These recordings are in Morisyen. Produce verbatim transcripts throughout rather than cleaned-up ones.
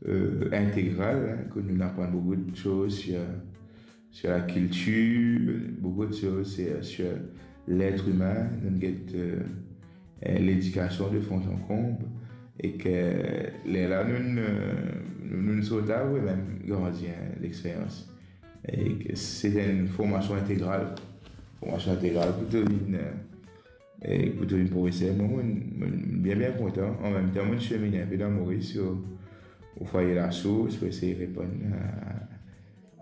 euh, intégral, hein, que nous apprend beaucoup de choses sur, sur la culture, beaucoup de choses sur, sur l'être humain. Nous get, euh, euh, l'éducation de fond en comble et que là, nous, nous, nous, nous sommes là, oui, même grandir, hein, l'expérience. Et que c'est une formation intégrale. Formation intégrale pour devenir, euh, e pou to vinn profeser, mwa, mo, mo bien, bien kontan. An mem tan, mo seminn inpe dan Moris, o, o Fwaye Lasours, pou esey reponn a,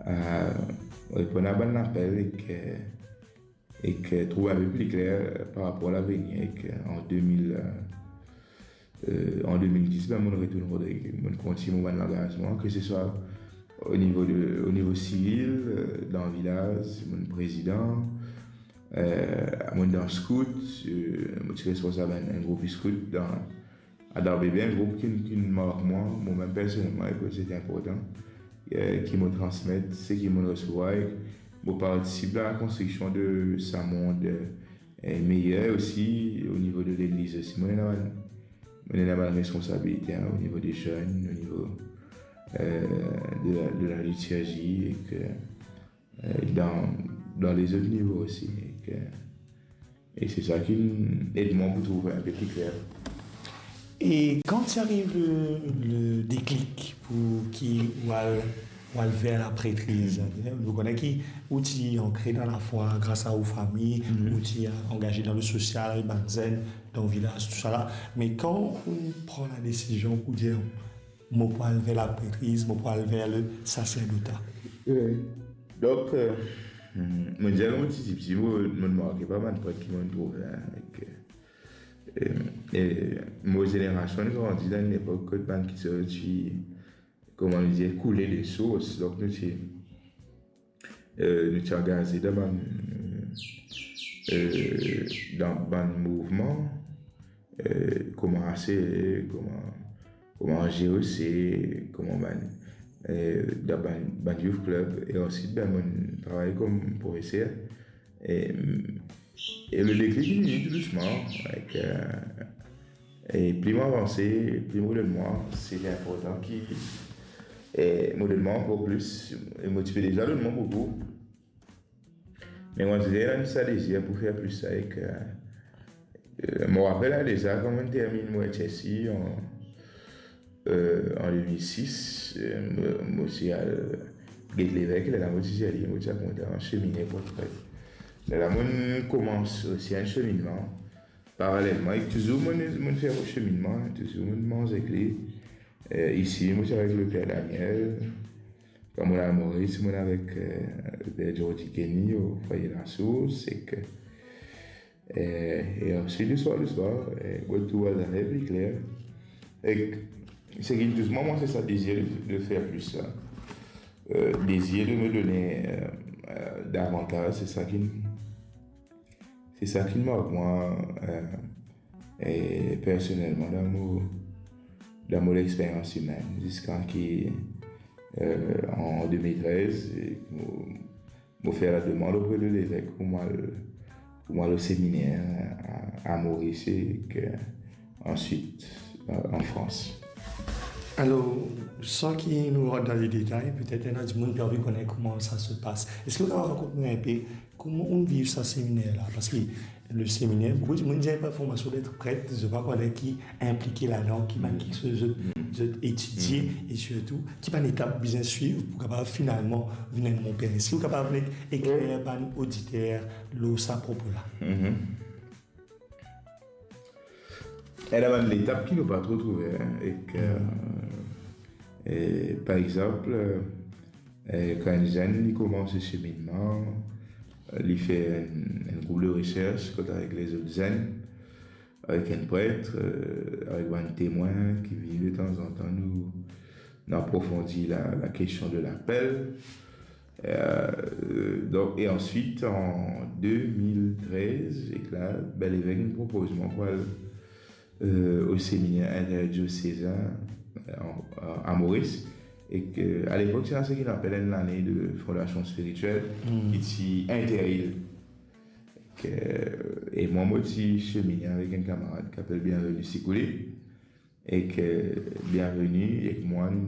a, reponn a bann lapel ek, ek trouv inpe pli kler par rapor lavenir, ek an de mil, euh, an de mil dis, ben, mo retourn Rodrig, mo kontign mo bann langazman, ke se swa o nivo de, o nivo sivil, euh, dan vilaz, mo prezidan, euh, mo dan scout, euh, mo ti responsab enn, enn group scout dan, a dan bebe, enn group ki, ki mark mwa, mwa mem personelman, e ki se inportan, euh, ki mo transmet, seki mo resevwar, e mo partisip dan lakonstriksion de sa mond, euh, meyer osi, o nivo de legliz osi. Mo ena bann, mo ena bann responsabilite, hein, o nivo de zenn, o nivo, euh, de la, de la litirzi, ek, euh, dan, dan lezot nivo osi, ek, e se sa ki ed mwa pou trouv inpe pli kler. E kan ti ariv le, le deklik pou ki ou al, ou al ver lapretriz, nou kone ki ou ti ankre dan lafwa gras a ou fami, ou ti angaze dan le sosial, avek bann zenn dan vilaz, tousala. Me kan ou pran ladesizion pou dir, mo pou al ver lapretriz, mo pou al ver le saserdota. Wi. Donk, euh, mo dir, kan mo ti tipti, mo, mo marke par bann pret ki mo trouve, hein, ek, euh, e mo zenerasion, nou grandi dan enn lepok kot bann ki ti, kouma nou dir, koule de sours. Donk, nou ti, euh, nou ti angaze dan bann, euh, dan bann mouvman, euh, kouma A C E, kouma, kouma G O C, kouma bann, euh, dan bann, bann youth club, e answit, ben, mo travay kom profeser. E, e le deklik li vini tou dousman, ek, euh, e pli mo avanse, pli mo donn mwa, se inportan ki, e mo donn mwa ankor plis, e mo ti pe deza donn mwa boukou. Me mo ti ena sa dezir pou fer plis sa, ek, euh, mo rapel, la, deza, kan mo terminn mo H S C an, euh, an de mil sis, euh, mo, mo ti al get levek, lerla mo ti dir li, mo ti al kontan semine pou pret. Lerla mo koumans osi enn seminnman, paralelman, ek touzour mo, mo fer mo seminnman, touzour mo manz ek li. Euh, isi, mo ti avek le per Daniel. Kan mo al Moris, mo avek, euh, le per Jordi Kenny, o Fwaye Lasours, ek, euh, e answit, leswar, leswar, euh, mo trouv zafar pli kler. Ek seki tous mwa, mwa, se sa dezir de, de fer plis, sa. Euh, dezir de me donner, euh, euh, davantage, se sa ki, se sa ki mark mwa, euh, e personelman, dan mo, dan mo lexperyans imenn, ziska ki, euh, an de mil trez, mo, mo fer lademand opre de levek pou mo al, pou mo al o seminer a, a Moris, ek, euh, answit, euh, an Frans. Alor, san ki nou rant dan le detay, petet ena dimoun ki anvi kone kouma sa se pas. Eski ou kapav rakont nou inpe kouma ou viv sa seminer la? Parski le seminer, boukou dimoun dir pa formasion d'être prêtre, zot pa kone ki inplike ladan, ki bann kiksoz zot, zot etidie, e sirtou ki bann etap bizin swiv pou kapav finalman vinn enn bon per. Eski ou kapav nek ekler bann oditer lor sa propo la? Ena bann letap ki nou pa tro trouve, hein, ek, euh, e, par exanp, euh, kan enn zenn li koumans so seminnman, li fer enn, enn group de resers kot avek lezot zenn, avek enn pret, euh, avek bann temwin ki vini detanzantan, nou, nou aprofondi la, la kestion de lapel. Euh, donk, e answit, an de mil trez, ek la, be, levek inn propoz mwa pou al, euh, o seminer interdiosezin, euh, an, an, a Moris. Ek, euh, alepok, ti ena seki nou apel enn lane de formasion spiritiel, ki ti inter-ile. Ek, euh, e mwa, mo ti semine avek enn kamarad ki apel Bienvenu Sikouli. Ek, euh, Bienvenu ek mwa, nou